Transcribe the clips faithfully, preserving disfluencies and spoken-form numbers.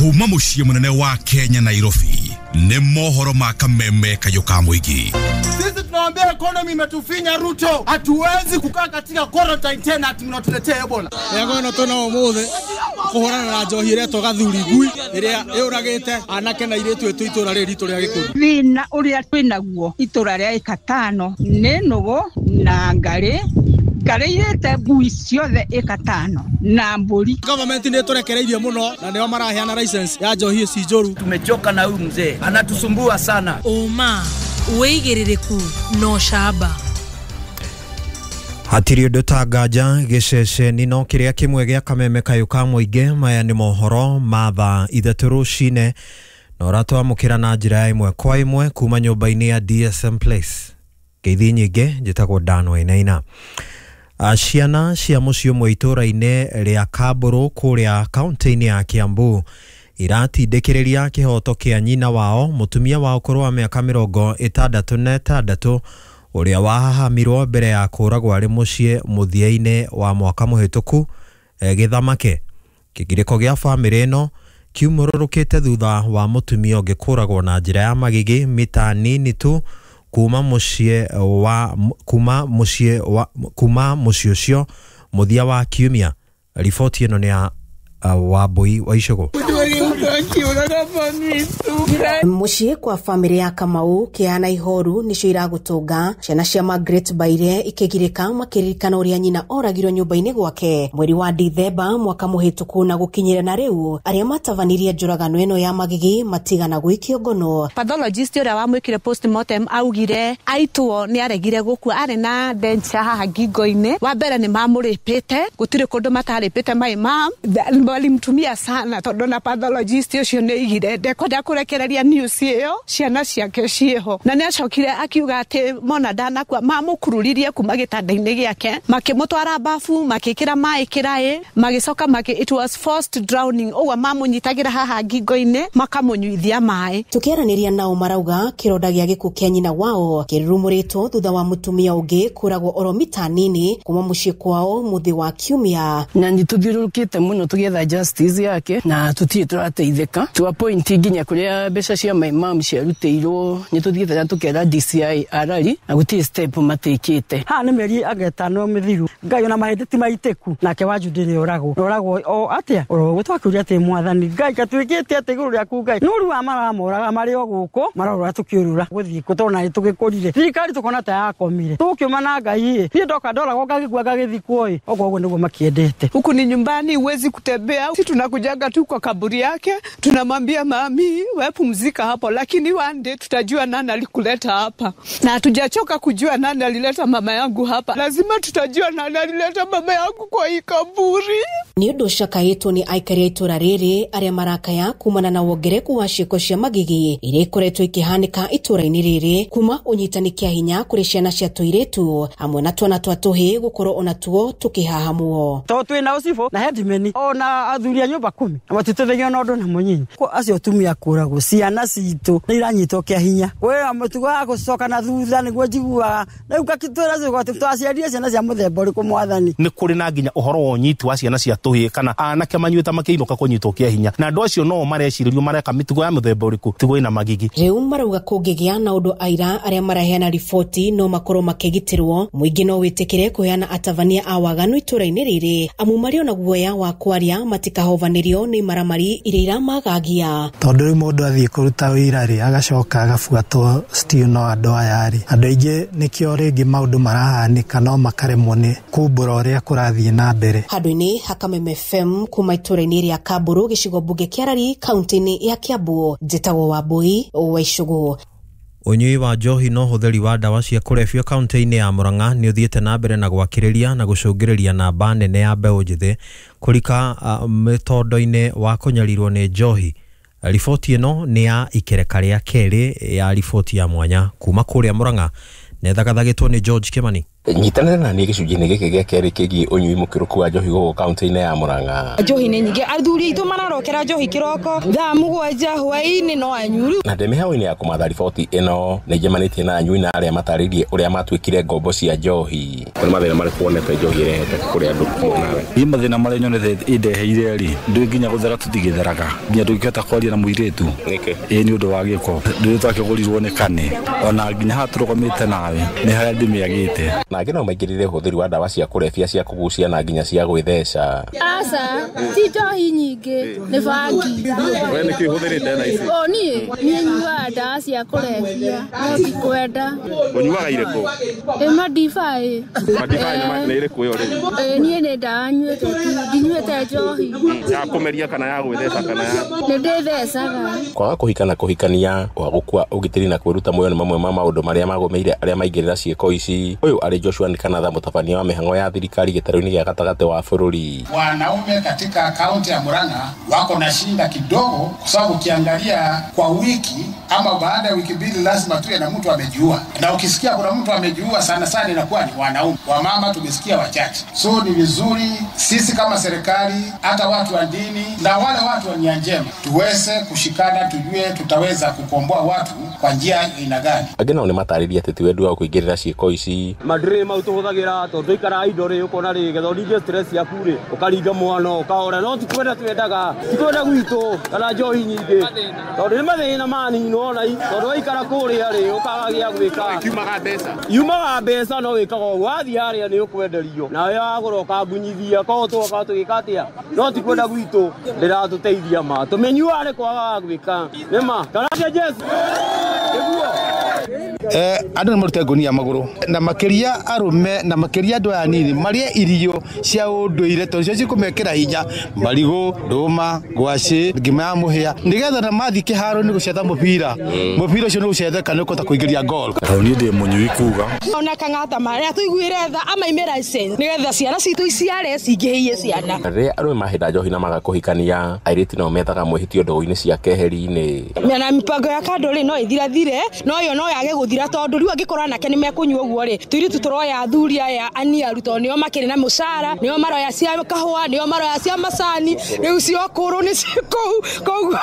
Kuma muciĩ mũnene wa Kenya Nairobi nĩ mohoro ma kameme kayũ ka mũingĩ. Sisi tunawaambia economy imetufinya Ruto, hatuwezi kukaa katika quarantine tena ati mnatuletea Ebola. Yego no tuna umuthi kuhurana na njohi iretwo gathuri ngui iria yuragite anake na iritu itu itura riri ritu ria Gikuyu. Thina uria twinaguo itura ria ikatano ni nugu na ngari ngari ngui ciothe ikatano na mburi. Government ni turekereirie muno na nio maraheana license ya njohi ici njuru. Tumechoka na huyu mzee, anatusumbua sana. Uma wigiririku no shaba. Hatiri undu ta nganja giceceni no kiria kimwe gia kameme kayu ka muingi. Maya ni mohoro ma thaa ithatu rucine na uratwamukira na njira ya imwe kwa imwe kuma nyumba-ini ya D S M Place. Ngeithi nyingi, njitagwo Dan Wainaina. Ciana cia muciĩ ũmwe itũra-inĩ rĩa Kamburu kũrĩa kaunti-inĩ ya Kiambu iratindĩkĩrĩria kĩhoto kĩa nyina wao mũtumia wa ũkũrũ wa mĩaka mĩrongo ĩtandatũ na ĩtandatũ ũrĩa wahahamirwo mbere ya kũragwo arĩ mũciĩ mũthia-inĩ wa mwaka mũhĩtũku gĩthamake. Kĩgirĩko gĩa bamĩrĩ ĩno kiumũrũrũkĩte thutha wa mũtumia ũngĩ kũragwo na njĩra ya magigi mita nini tu kuma mũciĩ wa kuma mũciĩ wa kuma mũciĩ ũcio mũthia wa kiumia. Riboti ĩno nĩ ya uh, Wambui wa Icũgũ. Muciĩ kwa famĩlĩ ya Kamau kĩana ihoru nicio iragũtũnga ciana cia Margaret Baire ikĩgirĩka makĩririkana ũrĩa nyina oragirwo nyũmba-inĩ gwake mweri wa Dithemba mwaka mũhĩtũku na gũkinyĩra na rĩu arĩa matabanirie njũragano ĩno ya magigi matigana gwĩkio ngono. Pathologist ũrĩa wamwĩkire postmortem augire aitwo nĩ aregire gũkua, arĩ na denture haha ngingo-inĩ. Wa mbere nĩ mamũrĩpĩte, gũtirĩ kũndũ matarĩpĩte my mom walimtumia sana tondũ na pathologist ũcio nĩ aigire ndekwenda kũrekereria news ĩyo ciana ciake ciĩho, na nĩ acokire akiuga atĩ mona ndanakua mamũkururirie kuma gĩtanda-inĩ gĩake makĩmũtwara bafu makĩkĩra maĩ kĩraĩ magĩcoka makĩ it was forced drowning, ũguo mamũnyitagĩra haha ngingo-inĩ makamũnyuithia maĩ. Tũkĩaranĩria nao marauga kĩronda gĩa gĩkuũ kĩa nyina wao kĩrurumũrĩtwo thutha wa mũtumia ũngĩ kũragwo oro mita nini kuma mũciĩ kwao mũthĩ wa kiumia. Na nĩ tũthiũrũrũkĩte mũno tũgĩetha justice yake na tũtirĩ tũrateithĩka to a point nginya kũrĩa mbeca cia my mom ciarutĩirwo nĩ tũthiĩte na tũkera D C I arari na gũtirĩ step matekĩte. Ha nĩ mĩeri anga ĩtano mĩthiru Ngai ona mahĩndĩ ti maitĩku nake wa Judy nĩ oragwo oragwo o atĩa oro twakĩũria atĩ mwathani Ngai gatuĩkĩte atĩ igũrũ rĩaku Ngai nũru wa maramoraga marĩ o gũkũ marorora tũkĩũrũra gũthiĩ kũ tondũ na tũgĩkũrire thirikari tũkona ta yakomire tũkĩũma na Ngai ĩ niĩ ndoka ndoragwo ngagĩkua ngagĩthikwo ĩ ũguo ũguo nĩguo makĩendete. Huku ni nyumbani, huwezi kutembea, sisi tunakujaga tu kwa kaburi yake tunamwambia mami wewe pumzika hapo, lakini one day tutajua nani alikuleta hapa, na hatujachoka kujua nani alileta mama yangu hapa. Lazima tutajua nani alileta mama yangu kwa hii kaburi. Nĩ ũndũ ũcakaĩtwo nĩ aikari a itũra rĩrĩ arĩa marakaya kumana na wongerereku wa ciĩko cia magigi iria ikoretwo ikĩhanĩka itũra-inĩ rĩrĩ kuma ũnyitani kĩa hinya kũrĩ ciana cia tũirĩtu hamwe na twana twa tũhĩĩ gũkorwo onatuo tũkĩhahamwo. Tondũ twĩna ũcibũ na headman ona athuri a nyũmba kumi na matitũthagia na ũndũ na mũnyinyi acio atumia kũragwo ciana citũ nĩ iranyitwo kĩa hinya kwĩra mũtugo wa gũcoka na thutha nĩguo njiguaga rĩu ngakĩtwĩra atĩ twaciarire ciana cia mũthemba ũrĩkũ mwathani. Nĩ kũrĩ na nginya ũhoro wa ũnyiti wa ciana cia tũhĩĩ kana anake manyuĩte makĩinũka kũnyitwo kĩa hinya na andũ acio no marecirĩrio mareka mĩtugo ya mũthemba ũrĩkũ tigo ĩna magigi. Rĩu marauga kũngĩgĩa na ũndũ aira arĩa maraheana riboti no makorwo makĩgitĩrwo mũingĩ no wĩtĩkĩre kũheana atabania a waganu itũra-inĩ rĩrĩ amu marĩ ona guoya wa kwaria matikahovanĩrio nĩ maramari iria iramagagia. Tondũ rĩu mũndũ athiĩ kũruta wĩra rĩ agacoka agabuatwo still no andũ aya rĩ andũ aingĩ nĩkĩo rĩngĩ maũndũ marahanĩka no makaremwo nĩ kumbũra ũrĩa kũrathiĩ na mbere. Handũ-inĩ ha Kameme F M kuma itũra-inĩ rĩa Kamburu gĩcigo mbunge kĩa Arari kaunti-inĩ ya Kiambu njĩtagwo Wambui wa Icũgũ. Ũnyui wa njohi na ũhũthĩri wa ndawa cia kũrebia kaunti-inĩ ya Murang'a nĩ ũthiĩte na mbere na gwakĩrĩria na gũcũngĩrĩria namba nene ya mbeũ njĩthĩ kũrika uh, mĩtondo-inĩ wa kũnyarirwo nĩ njohi. Riboti ĩno nĩ ya ikereka rĩa kerĩ ya riboti ya mwanya kuma kũrĩa Murang'a na ĩthagathagĩtwo nĩ George Kimani. Nyitanĩra na niĩ gĩcunjĩ-inĩ gĩkĩ gĩa kerĩ kĩgiĩ ũnyui mũkĩrũku wa njohi gũkũ kaunti-inĩ ya Murang'a. Njohi nĩ nyingĩ, athuri aitũ mararokera njohi kĩroko thaa mũgwanja hwaĩ-inĩ no anyuru. Na ndĩ mĩhang'o-inĩ ya kũmatha riboti ĩno nĩ njemanĩtie na anyui na arĩa matarĩirie ũrĩa matuĩkire ngombo cia njohi. Nĩ mathĩna marĩkũ wonete njohi ĩrehete kũrĩ andũ nawe? Niĩ mathĩna marĩa nyonete ĩndeheire rĩ, ndũĩ nginya gũthera tũtigĩtheraga, nginya ndũngĩhota kwaria na mũirĩtu. Nĩkĩ? Ĩĩ nĩ ũndũ wa gĩko, ndũĩ twakĩgũrirwo nĩ kane, ona nginya haha tũrũgamĩte nawe nĩ harĩa ndĩmĩagĩte. Na angĩ no maingĩrĩre ũhũthĩri wa ndawa cia kũrebia cia kũgucia na nginya cia gwĩtheca. Aca, ti njohi nyingĩ, nĩ bangi. We nĩkĩ ũhũthĩrĩte na ici? O niĩ, niĩ nyuaga ndawa cia kũrebia, no ti kwenda. Ũnyuaga irĩkũ? Ĩ madibai. Madibai nĩ ĩrĩkũ ĩyo rĩu? Ĩ niĩ nĩ ndawa nyuĩte tu, ndinyuĩte njohi. Ya kũmeria kana ya gwĩtheca kana ya? Nĩ ndĩthecaga. Kwaga kũhika na kũhikania, kwaga gũkua ũgitĩri na kwĩruta muoyo nĩ mamwe ma maũndũ marĩa magũmĩire arĩa maingĩrĩra ciĩko ici. Ũyũ arĩ Joshua Nkanatha, mũtabania wa mĩhang'o ya thirikari gĩtarũ-inĩ gĩa gatagatĩ wa bũrũri. Wanaume katika kaunti ya Murang'a wako na shinda kidogo, kwa sababu ukiangalia kwa wiki ama baada ya wiki mbili lazima tuwe na mtu amejiua, na ukisikia kuna mtu amejiua sana sana inakuwa ni wanaume. Wamama tumesikia wachache. So ni vizuri sisi kama serikali, hata watu wa dini na wale watu wa nia njema tuweze kushikana, tujue tutaweza kukomboa watu kwa njia aina gani. Angĩ nao nĩ matarĩria atĩ ti wendi wao kũingĩrĩra ciĩko ici. Mandĩrĩ mau tũhũthagĩra tondũ twaikara indo rĩ, ũkona rĩ getha ũringe stress yaku rĩ, ũkaringa mwana ũkahora, no ti kwenda twendaga, ti kwenda gwitũ kana njohi nyingĩ, tondũ nĩ mathĩna manini ona tondũ waikara kũrĩa rĩ ũkaga gĩa gwĩka. Kiumaga mbeca, yumaga mbeca no wĩkaga ũguo, wathiĩ harĩa nĩ ũkwenderio nawe wagũra ũkangunyithia, koguo tũgoka tũgĩka atĩa, no ti kwenda gwitũ ndĩratũteithia ma tũmĩnyuaga nĩ kwaga wa gwĩka nĩ ma kana Jesu. Eh, andũ nĩ marute ngũnia magũrũ na makĩria arũme na makĩria andũ aya anini marĩe irio cia ũndũire tondũ cio cikũmekĩra hinya, marigũ, ndũma, ngwacĩ, ngima ya mũhĩa, nĩgetha na mathiĩ kĩharo-inĩ gũcetha mũbira, mũbira ũcio nĩ gũcetheka nĩ ũkũhota kũingĩria goal. Tondũ niĩ ndĩ mũnyui kuga ona kang'ata marĩa tũiguire tha amaime license nĩgetha ciana citũ iciare cingĩhĩie ciana. Rĩrĩa arũme mahĩnda njohi na maga kũhikania, airĩtu nao methaga mwĩhĩtio ndũgũ-inĩ cia keheri-inĩ. Na mipango ya kando rĩ no ĩthirathire, no yo no yage gũthira tondũ rĩu angĩkorwo anake nĩ mekũnyua ũguo rĩ, tũirĩtu tũroya athuri aya aniaru tondũ nĩo makĩrĩ na mũcara, nĩo maroya cia kahũa, nĩo maroya cia macani, rĩu cio kũrũ nĩ kũu, koguo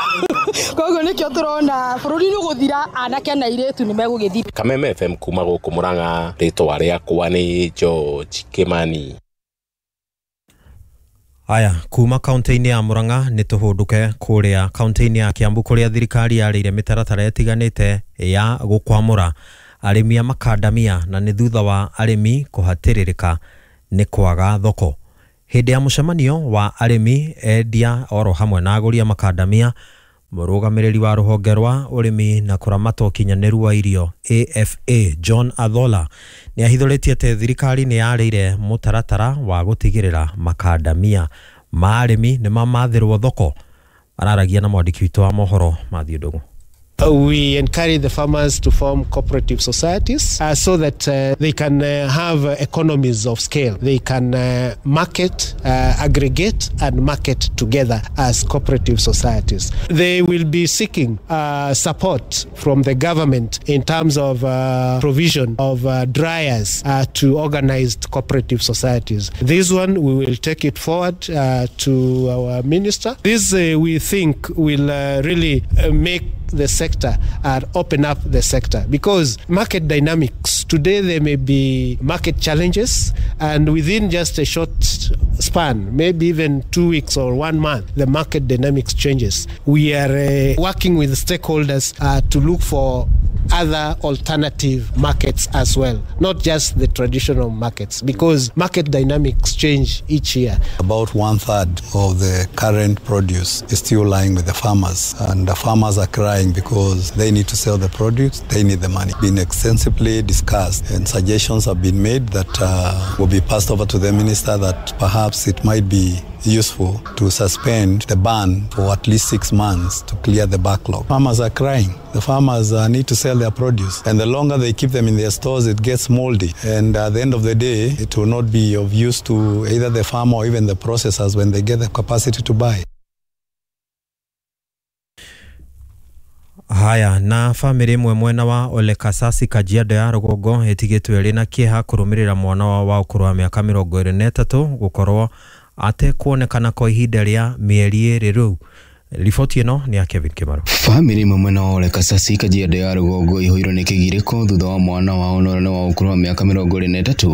koguo nĩkĩo tũrona bũrũri nĩ ũgũthira, anake na airĩtu nĩ megũgĩthira. Kameme F M kuma gũkũ Murang'a, rĩtwa rĩakwa nĩ George Kimani. Aya, kuma kaunti-inĩ ya Murang'a nĩ tũhũndũke kũrĩa kaunti-inĩ ya Kiambu kũrĩa thirikari yarĩire mĩtaratara ĩtiganĩte ya gũkwamũra arĩmi a makandamia, na nĩ thutha wa arĩmi kũhatĩrĩrĩka nĩ kwaga thoko. Hĩndĩ ya mũcemanio wa arĩmi, endia oro hamwe na agũri a makandamia, mũrũgamĩrĩri wa rũhonge rwa ũrĩmi na kũramata ũkinyanĩru wa irio A F A John Athola nĩ ahithũrĩtie atĩ thirikari nĩ yarĩire mũtaratara wa gũtigĩrĩra makandamia ma arĩmi nĩ mamathĩrwo thoko. Araragia na mwandĩki witũ wa mohoro Matthew Ndũng'ũ. We encourage the farmers to form cooperative societies uh, so that uh, they can uh, have economies of scale. They can uh, market, uh, aggregate and market together as cooperative societies. They will be seeking uh, support from the government in terms of uh, provision of uh, dryers uh, to organized cooperative societies. This one, we will take it forward uh, to our minister. This uh, we think will uh, really uh, make the sector and open up the sector, because market dynamics today, there may be market challenges, and within just a short span, maybe even two weeks or one month, the market dynamics changes. We are uh, working with stakeholders uh, to look for other alternative markets as well, not just the traditional markets, because market dynamics change each year. About one third of the current produce is still lying with the farmers, and the farmers are crying because they need to sell the produce, they need the money. Been extensively discussed, and suggestions have been made that uh, will be passed over to the minister that perhaps it might be useful to suspend the ban for at least six months to clear the backlog. Farmers are crying. The farmers uh, need to sell their produce, and the longer they keep them in their stores, it gets moldy. And at the end of the day, it will not be of use to either the farmer or even the processors when they get the capacity to buy. Haya na famĩlĩ ĩmwe mwena wa Ole Kasasi Kajiado ya rũgongo ĩtigĩtwo ĩrĩ na kĩeha kũrũmĩrĩra mwana wao wa ũkũrũ wa mĩaka mĩrongo ĩrĩ na ĩtatũ gũkorwo atekuonekana kwa ihinda rĩa mĩeri ĩrĩ rĩu. Riboti ĩno nĩ ya Kevin Kimaro. Famĩlĩ ĩmwe mwena wa Ole Kasasi Kajiado ya rũgongo ĩihũirwo nĩ kĩgirĩko thutha wa mwana wao na ũrĩa nĩ wa ũkũrũ wa mĩaka mĩrongo ĩrĩ na ĩtatũ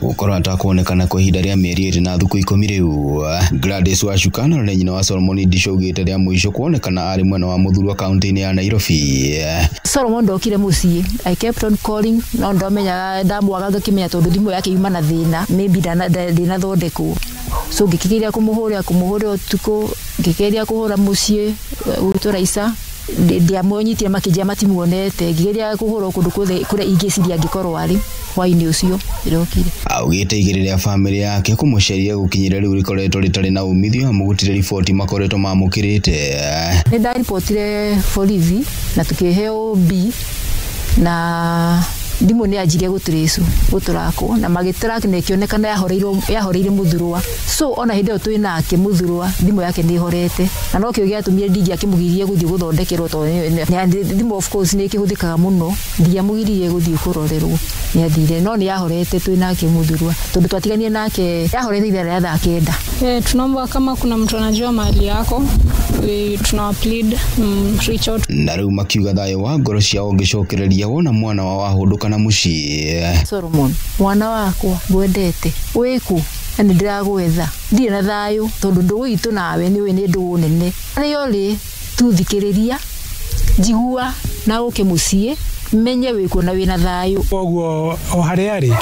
gũkorwo atakuonekana kwa ihinda rĩa mĩeri ĩrĩ na thikũ ikũmi rĩu. Gladys Wacuka na ũrĩa nyina wa Solomon Ndisho augĩte rĩa mũico kuonekana arĩ mwena wa Mũthurwa kaunti-inĩ ya Nairobi. Solomon ndokire mũciĩ, I kept on calling no ndomenyaga ndamwaga ngakĩmenya tondũ thimũ yake yuma na thĩna, maybe ndĩnathondekwo. So ngĩkĩgeria kũmũhũrĩra kũmũhũrĩra ũtukũ, ngĩgeria kũhũra mũciĩ gwitũ Raisa, ndiamũnyitire makĩnjĩra matimuonete, ngĩgeria kũhũra kũndũ kuothe kũrĩa ingĩciria angĩkorwo arĩ hwaĩ-inĩ ũcio ndĩrokire. Augĩte igĩrĩ rĩa famĩlĩ yake kũmũcaria gũkinyĩra rĩu rĩkoretwo rĩtarĩ na umithio amu gũtirĩ riboti makoretwo mamũkĩrĩte. Nĩ ndaribotire borithi na tũkĩheo B na thimũ nĩ yanjirie gũtũrĩcwo gũtũrakwo na magĩtrack na ĩkĩonekana yahoreirwo yahoreire Mũthurwa. So ona hĩndĩ ĩyo twĩ nake Mũthurwa thimũ yake nĩ ĩhorete na nokĩo gĩatũmire ndingĩakĩmũgirie gũthiĩ gũthondekerwo tondũ thimũ of course nĩ ĩkĩhũthĩkaga mũno, ndingĩamũgiririe gũthiĩ kũrorerwo, nĩ athire no nĩ yahorete twĩ nake Mũthurwa tondũ twatiganire nake yahorete ithaa rĩa thaa kenda. Eh, tunaomba kama kuna mtu anajua mahali yako tuna plead mm, reach out. Na rĩu makiuga thayũ wa ngoro ciao ũngĩcokereria wona mwana wao ahũndũka na mũciĩ. Solomon mwana wakwa ngwendete wĩkũ na nĩ ndĩragwetha ndirĩ na thayũ tondũ ndũgũ itũ nawe nĩ ũĩ nĩ ndũgũ nene rĩo rĩ tu thikĩrĩria njigua na ũke mũciĩ menye wĩkũ na wĩna thayũ. Koguo o harĩa arĩ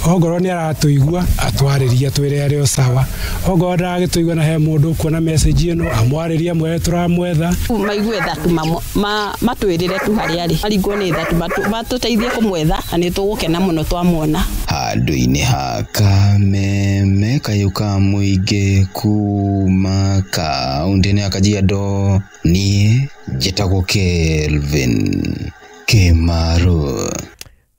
ongorwo nĩ aratũigua atwarĩrie twĩre arĩ o sawa, ongorwo ndaragĩtũigua na he mũndũ ũkuona message ĩno amwarĩrie mwere tũramwetha. Maigue tha tu matwĩrĩre tu harĩa arĩ maringwo nĩ tha tu matũteithie kũmwetha na nĩ tũgũkena mũno twamwona. Handũ-inĩ ha Kameme kayũ ka mũingĩ kuma kaunti-inĩ ya Kajiado, niĩ njĩtagwo Kelvin Kimaro.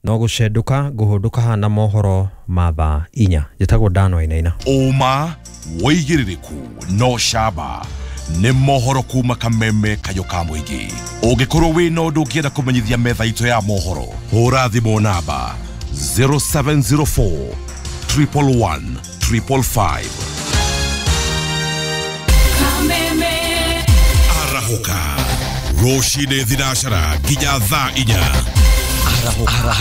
No gũcenduka ngũhũndũka hana mohoro ma thaa inya. Njĩtagwo Dan Wainaina. Ũma wĩigĩrĩrĩku no camba nĩ mohoro kuma Kameme kayũ ka mũingĩ. Ũngĩkorwo wĩna ũndũ ũngĩenda kũmenyithia metha itũ ya mohoro, hũra thimũ namba zero seven zero four triple one triple five. Kameme arahũka rũcinĩ thinacara nginya thaa inya. Arahũka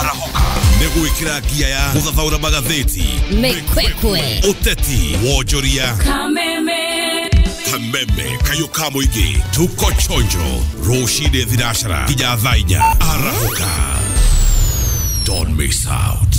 arahũka nĩ gwĩkĩra ngia ya gũthathaũra magathĩti, mĩkwekwe, ũteti, wonjoria. Kameme Kameme kayũ ka mũingĩ tuko chonjo rũcinĩ thinacara nginya thaa inya. Arahũka, don't miss out.